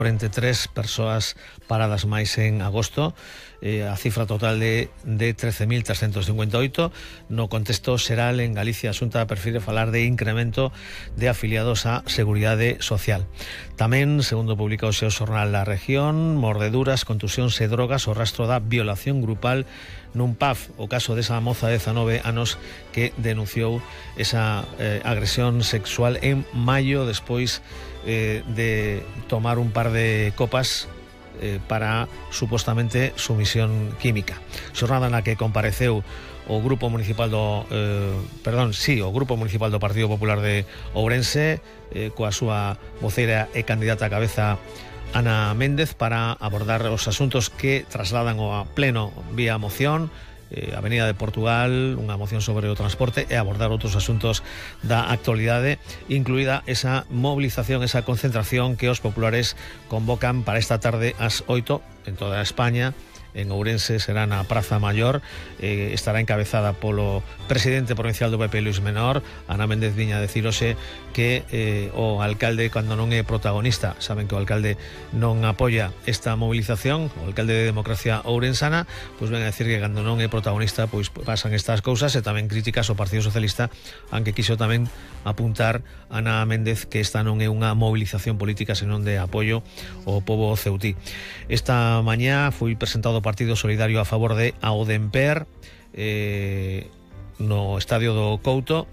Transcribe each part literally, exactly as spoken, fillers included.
cuarenta y tres persoas paradas máis en agosto, eh, a cifra total de, de trece mil trescentos cincuenta e oito. No contexto xeral, en Galicia, a Xunta prefire falar de incremento de afiliados á Seguridade Social. Tamén, segundo publica o seu xornal La Región, mordeduras, contusións e drogas, o rastro da violación grupal nun P A F, o caso desa moza de dezanove anos que denunciou esa eh, agresión sexual en maio, despois eh, de tomar un par de copas eh, para supostamente sumisión química. Xornada na que compareceu o Grupo Municipal do eh, perdón, sí, o Grupo Municipal do Partido Popular de Ourense, eh, coa súa voceira e candidata a cabeza Ana Méndez, para abordar os asuntos que trasladan ao pleno vía moción, eh, Avenida de Portugal, unha moción sobre o transporte, e abordar outros asuntos da actualidade, incluída esa movilización, esa concentración que os populares convocan para esta tarde ás oito en toda España. En Ourense será na Praza Maior, eh, estará encabezada polo presidente provincial do P P, Luis Menor. Ana Méndez viña a decir hoxe que eh, o alcalde, cando non é protagonista, saben que o alcalde non apoia esta movilización, o alcalde de Democracia Ourensana, pois ven a decir que cando non é protagonista, pois pasan estas cousas, e tamén críticas ao Partido Socialista, aunque quiso tamén apuntar Ana Méndez que esta non é unha movilización política, senón de apoio ao pobo ceutí. Esta mañá foi presentado Partido Solidario a favor de Audemper eh, no estadio do Couto.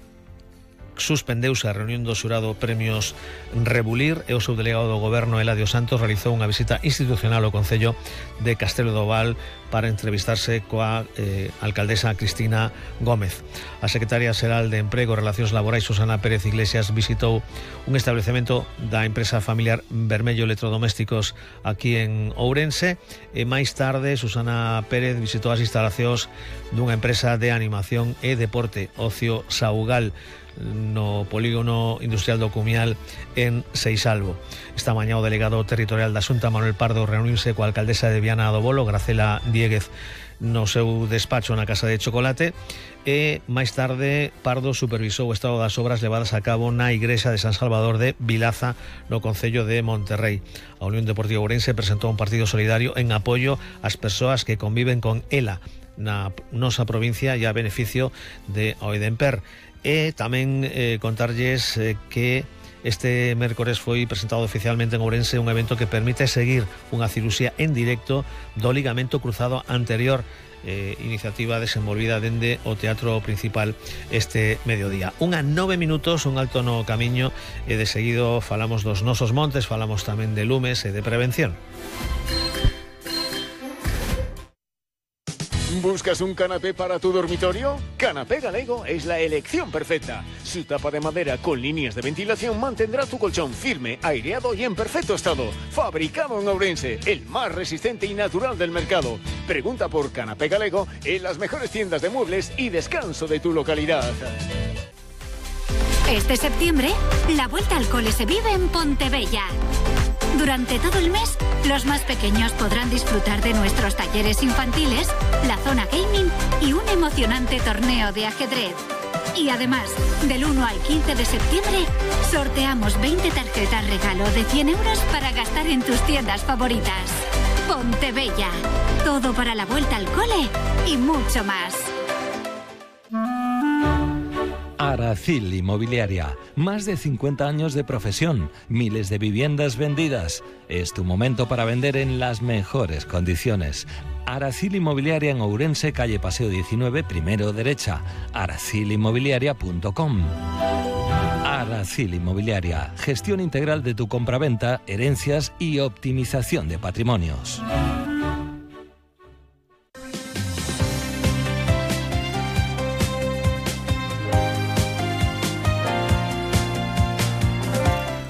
Suspendeuse a reunión do xurado Premios Rebulir e o seu delegado do Goberno, Eladio Santos, realizou unha visita institucional ao Concello de Castelo do Val para entrevistarse coa eh, alcaldesa Cristina Gómez. A secretaria xeral de Emprego e Relacións Laborais, Susana Pérez Iglesias, visitou un establecemento da empresa familiar Vermello Electrodomésticos aquí en Ourense, e máis tarde Susana Pérez visitou as instalacións dunha empresa de animación e deporte, Ocio Saugal, no polígono industrial do Cumial en Seixalbo. Esta mañá o delegado territorial da Xunta, Manuel Pardo, reuniuse coa alcaldesa de Viana do Bolo, Gracela Diéguez, no seu despacho na Casa de Chocolate, e máis tarde Pardo supervisou o estado das obras levadas a cabo na igrexa de San Salvador de Vilaza, no concello de Monterrey. A Unión Deportiva Ourense presentou un partido solidario en apoio ás persoas que conviven con ela na nosa provincia e a beneficio de Audemper. E tamén eh, contarlles eh, que este mércores foi presentado oficialmente en Ourense un evento que permite seguir unha cirurxía en directo do ligamento cruzado anterior, eh, iniciativa desenvolvida dende o Teatro Principal este mediodía. Unha nove minutos, un alto no camiño, e de seguido falamos dos nosos montes, falamos tamén de lumes e de prevención. ¿Buscas un canapé para tu dormitorio? Canapé Galego es la elección perfecta. Su tapa de madera con líneas de ventilación mantendrá tu colchón firme, aireado y en perfecto estado. Fabricado en Ourense, el más resistente y natural del mercado. Pregunta por Canapé Galego en las mejores tiendas de muebles y descanso de tu localidad. Este septiembre, la vuelta al cole se vive en Pontebella. Durante todo el mes, los más pequeños podrán disfrutar de nuestros talleres infantiles, la zona gaming y un emocionante torneo de ajedrez. Y además, del uno al quince de septiembre, sorteamos veinte tarjetas regalo de cien euros para gastar en tus tiendas favoritas. Pontebella, todo para la vuelta al cole y mucho más. Aracil Inmobiliaria, más de cincuenta años de profesión, miles de viviendas vendidas. Es tu momento para vender en las mejores condiciones. Aracil Inmobiliaria en Ourense, calle Paseo diecinueve, primero derecha, aracil inmobiliaria punto com. Aracil Inmobiliaria, gestión integral de tu compraventa, herencias y optimización de patrimonios.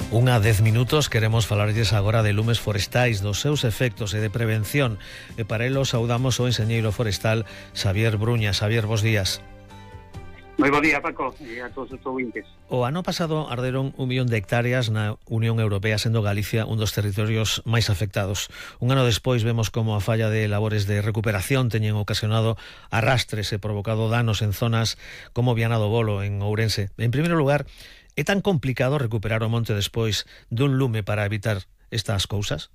Unha dez minutos, queremos falarlles agora de lumes forestais, dos seus efectos e de prevención, e para elo saudamos o enxeñeiro forestal Xavier Bruña. Xavier, bos días. Moi bo día, Paco, e a todos os ouvintes. O ano pasado arderon un millón de hectáreas na Unión Europea, sendo Galicia un dos territorios máis afectados. Un ano despois vemos como a falla de labores de recuperación teñen ocasionado arrastres e provocado danos en zonas como Viana do Bolo, en Ourense. En primeiro lugar, é tan complicado recuperar o monte despois dun lume para evitar estas cousas?